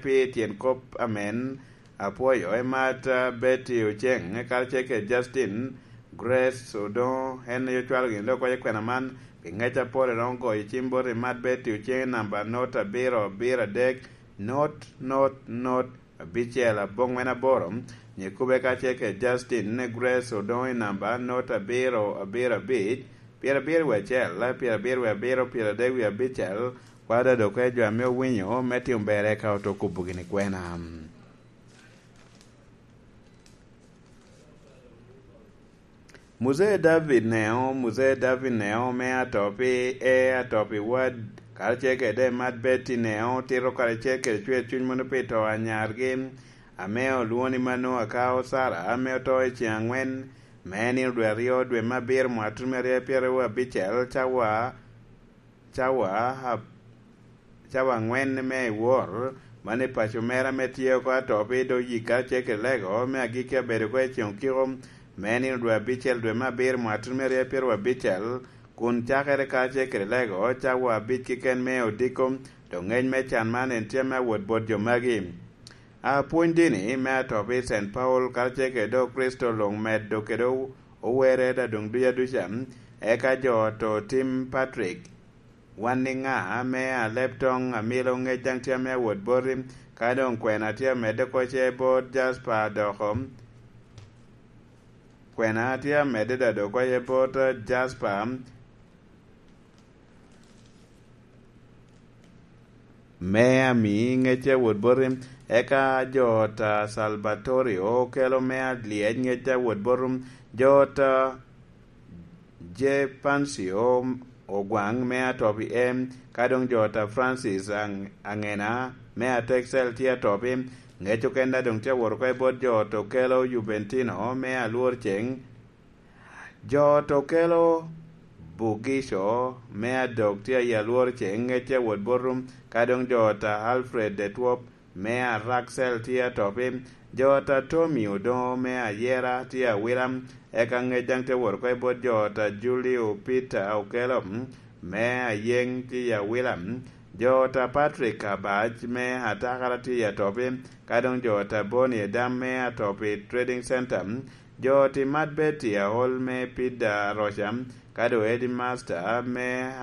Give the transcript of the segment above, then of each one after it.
pi tyen kop amen apwoyo Emat Betty Oceng karacel ki Justin Grace Odongo en aye ocwalo gin dok waco kwena man pi ngec apol iromo goyo cim bot Emat Betty Oceng i namba not abiro abiro adek not not not abicel abongwen aboro nyo ikube kacel ki Justin Grace Odongo i namba not abiro abiro abic pyerabiro wiye acel pyerabiro wiye abiro pyeradek wiye abicel Kwada dok ejwa me owinyo me timo ber eka oto kubo gini kwena. Muzee David neo Muzee David neo me ato pi e ato pi wad karacel kede mad Betty neo tito karacel kede cwer cwiny mono pi to anyargi ame olwoni mano akao Sara ame oto i ceng angwen me nino dwe aryo dwe me abiro mwaka 2026 cawa Cawa cawa angwen me i wor ma ni paco mera me tye oko ato pi dog yik kacel ki lego me agikki abedo ko i ceng okiko me nino dwe abicel dwe me abiro mwaka 2026 kun cakere kacel ki lego cawa abic keken me odiko dong ngec me can man en tye me awot bot jo magi. A Pwony dini me ato pi Cent Paul kacel ki dog Kricito long medo kede Owere da dong duc aduca, eka jo to tim Patrick, Wan ni nga me a leb tong amilo ngec dang tye me awot boti, ka dong kwena tye amedde koce bot Jasper doko kwena tye amedde da dong koce bot Jasper. Me ami ngecce wot boti, eka jo ta Salvatorio kelo me alyec ngecce wot botu, jo ta Jepancio ogwang me atopi e, ka dong jo ta Francis Angena me Atexel tye atopi. Ngec okenda dong tye awot oko bot jo to kelo Juventino me alwor ceng. Jo to kelo Bugico me adok tye i alworo ceng ngecce wot botu, ka dong jo ta Alfred de Twop me Araxel tye atopi, jo ta Tommy Odongo me Ayera tye awila, eka ngec dang tye wot oko bot jo ta Julio Peter Okello me Ayeng tye i awila, jo ta Patrick Abac me Atakara tye i atopi, ka dong jo ta Bonnie Adam me Atopi Trading Center. Jo Timat Betty aol me Pida Roca, kadi Headmaster me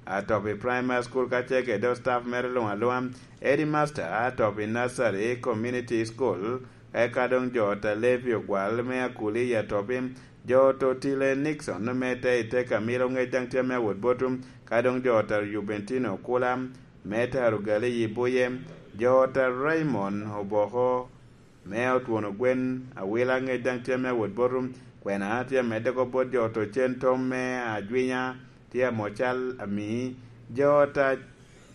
Atopi Primary School kacel kede staff mere lung alunga, Headmaster Atopi Nursery Community School, eka dong jo ta Levi Ogwal me Akuli i Atopi, jo Totile Nixon me te Iteka Milo ngec dang tye me awot botu, ka dong jo ta Juventino Kula me te Arugali i Buye, jo ta Raymond Oboko Me otwono gwen awila ngec dang tye me awot botu, kwena tye amedde ko bot jo to cen tom me ajwinya tye amocal ami jo ta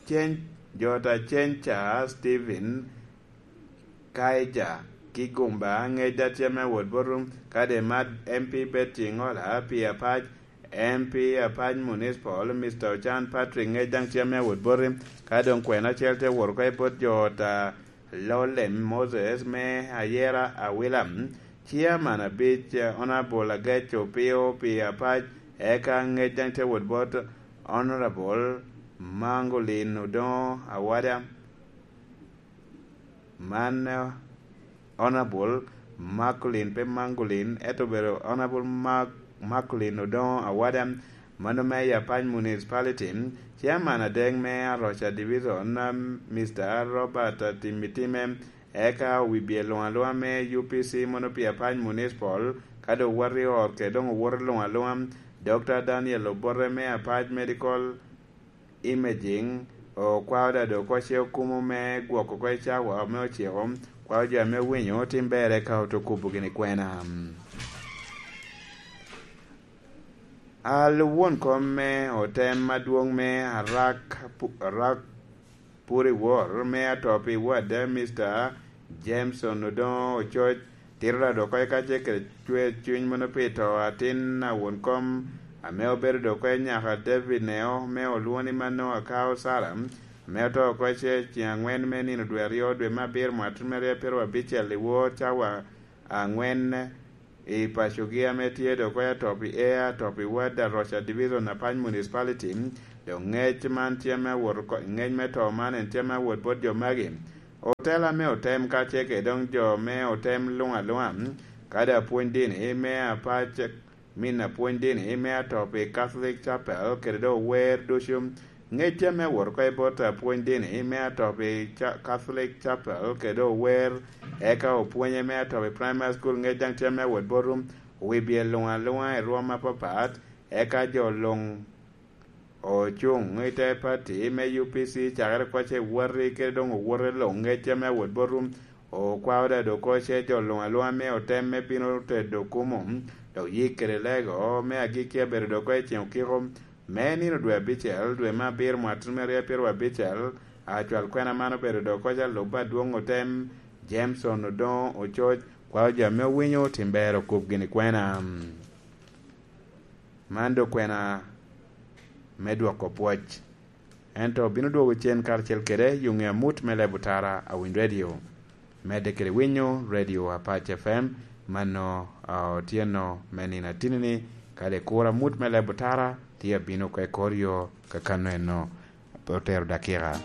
cen jo ta cenca Steven Kaija ki gumba ngec da tye me awot botu kade mad MP Betty Ngola pi apac MP apac Municipal Mister Ocan Patrick ngec dang tye me awot boti ka dong kwena cel tye woto ka bot jo ta Lolem Moses me ayera awila, Chairman abic Honourable Agec Opio pi apac eka ngec dang tye wot bot Honourable Mangolin Odongo Awada man Honourable Makulin pe Mangolin ento obedo Honourable Makulin Odongo Awada ma nongo me Apac Municipality, Chairman adek me Aroca Division, Mister Robert Timitime, eka wibye lung alunga me UPC mono pi Apac Municipal, ka dong wati ot ke dong owoto lung alunga, Dokta Daniel Obote me Apac Medical Imaging, okwao dado koce okumu me gwoko ko icawa me ociko, kwao jo me winyo tim bere ka oto kubu gini kwena. A Luwon kom me otem madwong me Arak Puri Wor me Atopi Ward, Mister Jameson Odongo Ococ tito dok okoyo kace kede cwer cwiny mono pi to atin awon kom ame obedo dok okoyo nyaka David Neo me olwoni ma nongo akao Sara ame oto okoyo ce ceng angwen me nino dwe aryo dwe me abiro mwaka 2026 liwor cawa angwen I pacogi ame tye dok oya top i Air, top i Ward, Aroca Division, Apac Municipality. Dong ngec man tye me awot ngec me to man en tye me awot bot jo magi. Otela me otem kacel kede dong jo me otem lung alunga, kadi apwony dini me apac min apwony dini me atopi Catholic Chapel kede dong ower ducu. Ngec tye me wot oko bot apwony dini me atopi Catholic Chapel kede dong ower eka opwonye me atopi Primary School ngec dang tye me wot botu wibye lung alunga i rwom mapapat eka jo lung Ocung i te pati me UPC cakere kwace wati kede dong owote long ngecce me wot botwu. Okwa odado koce jo lung alunga me otem me bino tedo kumu dok yik kede lego me agikki abedo dok i ceng okiko me nino dwe abicel dwe me abiro mwaka 2025. Acwal kwena man obedo dok koce alub adwong otem Jameson Odongo Ococ kwayo jo me owinyo tim ber okub gini kwena. Man dong kwena me dwoko pwoc. Ento bino dwogo cen karacel kwede yo nge amut me leb otara awiny radio. Medde kwede winyo radio Apac FM ma nongo otyeno me nino atini-ni kadi ikuro amut me leb otara tye abino ka ikor yo ka kano eno pe otero dakika.